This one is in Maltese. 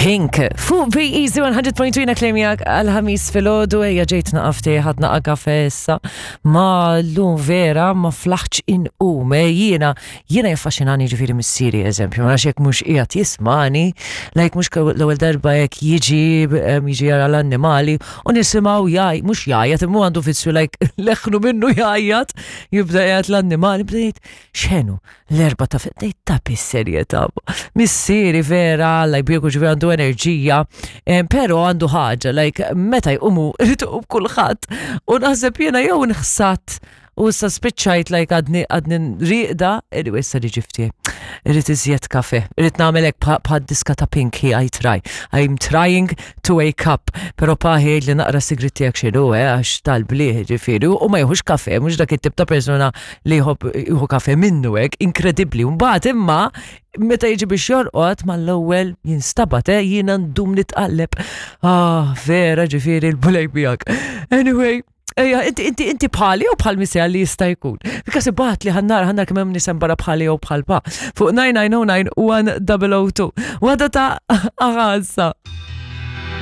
Pink, fuq Be Easy 100.2 klemjak għal-ħamis fil-ħodu, ejja ġejt naqafti ħadna kafe issa, ma l-lum vera ma flaħċ inqum, eh, jiena, jiena jaffaxinani ġifiri missieri eżempju, ma nafx jekk mhux qiegħed jismani, like mhux l-ewwel darba jekk jiġi jiġi jara l-annimali u nisimgħu jgħaj, mhux jgħajjat, imma għandu vizzju like leħnu minnu jgħajjat, jibda jgħajjat l-annimali, bda jgħid x'ħenu, l-erba ta' fetnej ta' bis-serjetà. Missieri vera, like bieku ġifieri għandu enerġija, eh, però għandu ħaġa, like meta jqumu irid iqum kulħadd. U naħseb jiena jew nħsat u issa spiċċajt like għadni għadni riqda, anyway issa li ġifti. Irrid iżjed kafe, irrid nagħmel hekk bħad diska ta' Pinky I try. I'm trying to wake up. Pero paħi li naqra sigrit tiegħek x'inhu, eh, għax tal-bliħ ġifieri u ma jieħux kafe, mhux dak it-tip ta' persuna li jħobb jieħu kafe minnu hekk, inkredibbli. Mbagħad imma meta jiġi biex jorqod mal-ewwel jinstabat, eh, jiena ndum nitqalleb. Ah, vera ġifieri l-bulej miegħek. Anyway, Ejja, inti inti inti bħali jew bħal misja li jista' jkun. Because ibat li ħannar ħannar kemm hemm nisem barra bħali jew bħal pa. Fuq 9909 1002. Waħda ta' aħassa.